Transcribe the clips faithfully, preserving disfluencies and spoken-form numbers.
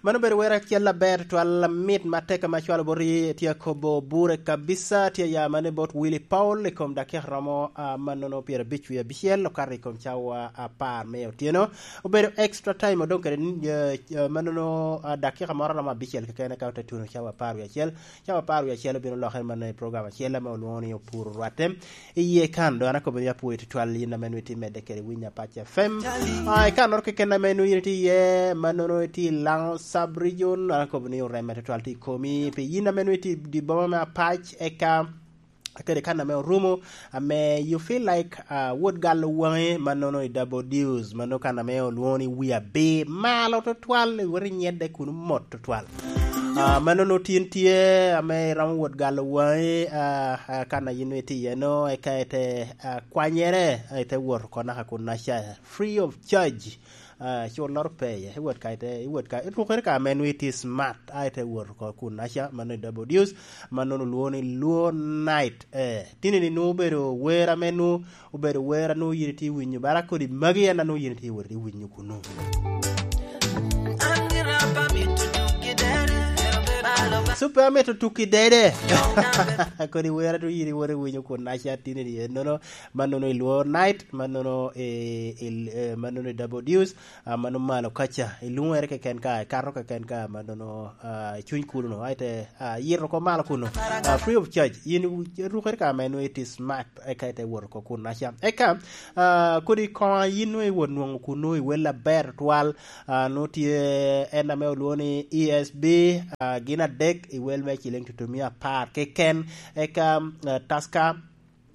Mano obedo wer acel aber twal, mit ma tek ame acwalo boti, tye akobo bure kabisa, tye ya mane bot Willy Paul i kom dakika romo, ah, mannono pyerabic wie abicel, okato i kom cawa apar me otyeno. Obedo extra time, odong kede, eh, eh, mannono, ah, dakika moro romo abicel keken, eka ote tuno cawa apar wie acel. Cawa apar wie acel obino lokere mannono i program acel ame olwoŋo ni Opuro Rwatte. Iye kan, dong an akobo ni apwoyo tutwal yin ame nwoŋo itye medde kede Winyo Apac F M. Ah, i kannoro keken ame nwoŋo yin itye iye, mannono itye i Lango Sub Region, an akobo ni oreme tutwal tye i komi. Pi yin ame nwoŋo itye i di boma me Apac, eka kede kan ame orumo, ame you feel like, ah, wot galo waŋe, mannono i Double Deuce, mannono kan ame olwoŋo ni Wi Abir, malo tutwal, iwot inyedde kuno mot tutwal. Ah, mannono tin tye ame iromo wot galo waŋi, ah, ah, kan a yin itye iye no, eka ite, ah, kwanyere, ah, ite wot oko naka kunnaca, free of charge. Ah, culloro pe iye, iwot ka ite, iwot ka, irukere ka ame nwoŋo itye smart, a ite wot oko kunnaca, mano i Double Deuce, mannono olwoŋo ni Luo Night. Eh, tini ni nwoŋo obedo wer ame nwoŋo obedo wer a nwoŋo yin itye winyo, bara kodi magi en a nwoŋo yin itye wot i winyo kuno. Super amito tuki dede. Kodi wer a nwoŋo yin iwot i winyo kun aca tini ni ennono, mannono i Luo Night, mannono i, i, eh, mannono i Double Deuce, ah, mano malo kaca, i luŋere keken ka, ikato keken ka, mannono, ah, i cuny kuno, aite, ah, yito oko malo kuno, ah, free of charge, yin irukere ka ame nwoŋo iti smart, eka ite wot oko kunnaca. Eka, ah, kodi koŋa yin nwoŋo iwot nwoŋo kuno i wel aber twal, ah, nwoŋo tye en ame olwoŋo ni E S B, ah, gin adek i wel me ciling tutumia apar keken, eka, ah, Tusker,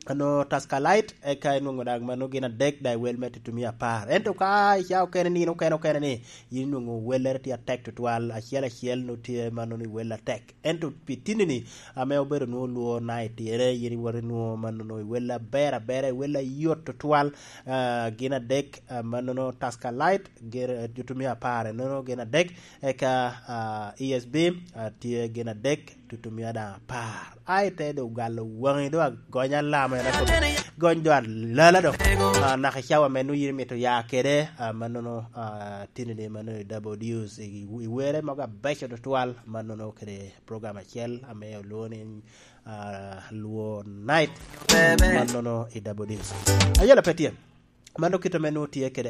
ano Tusker Light, eka inwoŋo dak mano gin adek da i wel me tutumia apar. Ento ka i ca okene ni, okene, okene ni, yin inwoŋo wellere tye atek tutwal, acel acel nwoŋo tye mannono i wel atek. Ento pi tinni-ni, ame obedo nwoŋo Luo Night, ene yin iwoto inwoŋo mannono i wel aber abera, i wel ayot tutwal, ah, gin adek, ah, mannono Tusker Light, gin, eh, tutumia apar, ennono gin adek, eka, ah, E S B, ah, tye gin adek, tutumia daŋ apar. Ai, te doŋ galo waŋi, doŋ agony alama, en akobo, gony doŋ alala doŋ. Ah, naka i cawa ame nwoŋo yin imito ya kede, ah, mannono, ah, tinni-ni mannono i Double Deuce, i, i were mogo abeco tutwal, mannono kede program acel ame olwoŋo ni, ah, Luo Night, mannono i Double Deuce. Ayela pe tye. Mano kit ame nwoŋo tye kede